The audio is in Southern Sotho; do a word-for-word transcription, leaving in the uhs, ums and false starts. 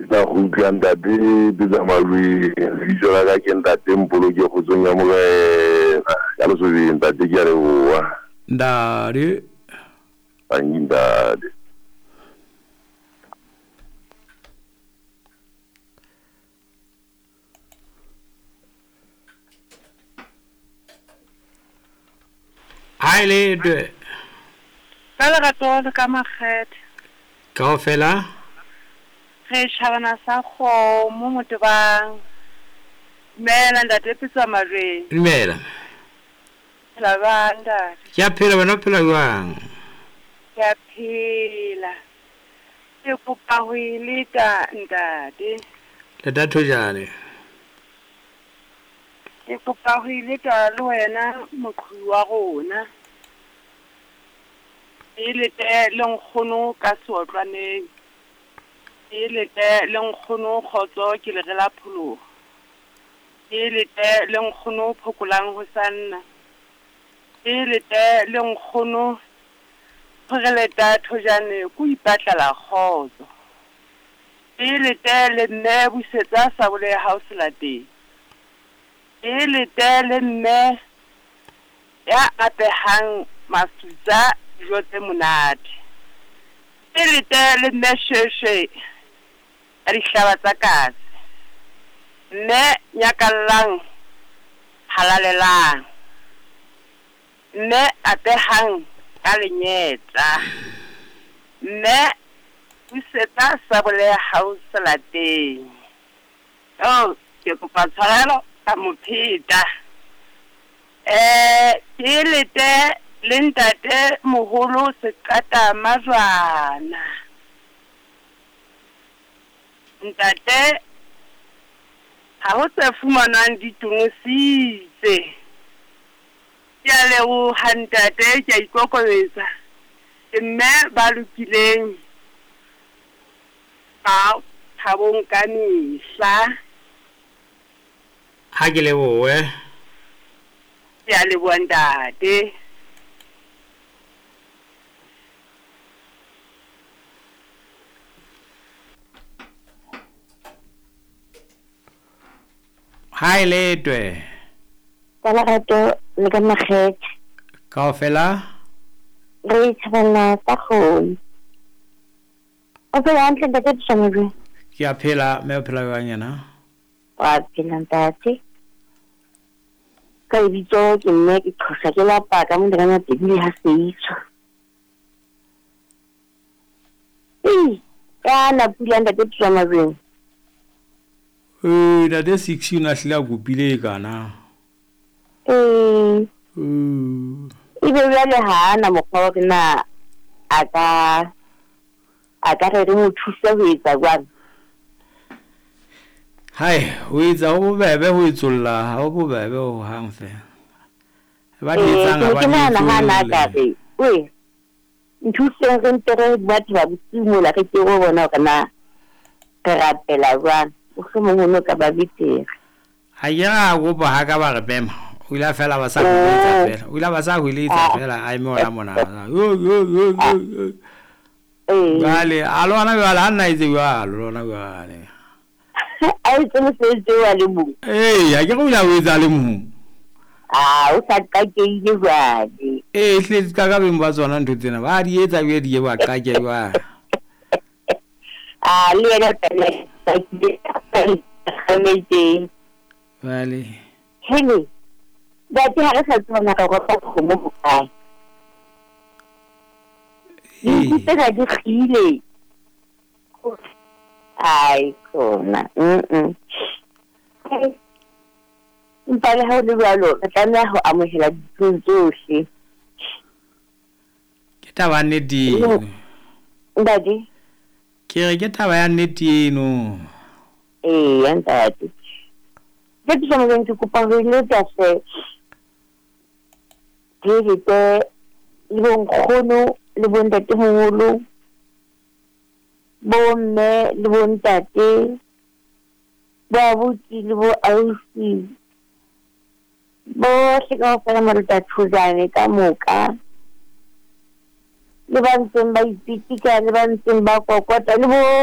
Tla kgutla ntate Petsa Malweng. Lebitso la ka ke ntate Mpoloke kgotsong ya Morena. Ka lesobeng ntate ke a leboha. Ntate. Tanki ntate. Ha le dwe. Ka lerato le ka makgethe. Kaofela? Re tjhabana sa kgomo motebang. Dumela ntate Pitsa Majweng. Dumela. Phela jwang ntate? Ke a phela, wena o phela jwang? Ke a phela. Ke kopa ho e leta ntate. Leta thojane. Ke kopa ho e leta le wena moqhubi wa rona. E lete le nkgono ka seotlwaneng. E lete le nkgono kgotso ke le re la pholoho. E lete le nkgono phokolang ho sanna. E lete le nkgono phereleta thojane ko ipatlela kgotso. E lete le mme busetsa sabole ya hao selateng. E lete le mme ya apehang masutsa dijo tse monate. E lete le mme sheshe ya dihlaba tsa katse. Mme nyakallang halalelang. Mme apehang ka lenyetla. Mme busetsa sabole ya hao selateng. Oh, ke kopa tshwarelo ka mopheta. Eh, ke lete le ntate moholo Seqata Majwana. Ntate ha ho tse fumanwang di tonositse. Ke a leboha ntate, ke a ikokobetsa. Ke mme ba lokileng ba thabong ka mehla. Ha ke lebohe. Ke a leboha ntate. Ha e letwe. Ka lerato le ka makgethe. Kaofela? Re thabana tsa kgomo. O phela hantle ntate Pitsa Majweng? Ke a phela, mme o phela jwang yena? Wa phela ntate. Ka lebitso ke mme ke qhosa ke lapa ka mo ka pedi ha seitsho. Ee, ya na pula ntate Pitsa Majweng. Ee, ntate six o ne a hlile a kopile e kana. Ee. Mm. Ebe jwale ha ana mokgwa wa hore na a ka a ka re re mo thuse ho etsa jwang? Hai, ho etsa ho bobebe ho etsolla, ha ho bobebe ho hang fela. Ba di Ee, etsang ke ha ne ba ke di nahana ha na ka etsolle. re, oe, nthuseng re mpe re batho ba bosiu mola re ke ho bona hore na re rapela jwang. Mohlomong ho no ka ba betere. Ha ke ra kopa ha ka ba re mema. O ile a fela ba sa hweletsa Oh. fela. O ile ba sa hweletsa Ah. fela a eme hona mona. Yo yo yo yo yo. Ee. Jwale a lona jwale ha nna etse jwalo lona jwale. A etse mosebetsi oo a le mong. Ee, ha ke re o ile a o etsa a le mong. Ah, o sa qakeile jwale. Ee, ehlile ka ka beng ba tsona ntho tsena. Ba di etsa be di ye ba qake jwale. Ah, le yena fela qakile kgametseng. Jwale. Hele, ntate ha re sa tseba na re ropa kgomo hokae. Dinku Ee. tsena di kgile. Ai, khona. Mm-mm. Empa le ha ho le jwalo, re tlameha ho amohela dintho tsohle. Ke taba ya nnete eno. Ntate? Ke re ke taba ya nnete eno. Eya ntate. Ke Pitsa Majweng ke kopa ho eletsa hle. Ke lete le bonkgono le bontatemoholo, bomme le bontate, bo abuti le bo ausi, bohle kaofela Marota Thojane ka moka, le ba ntseng ba ipitika le ba ntseng ba kokota le bo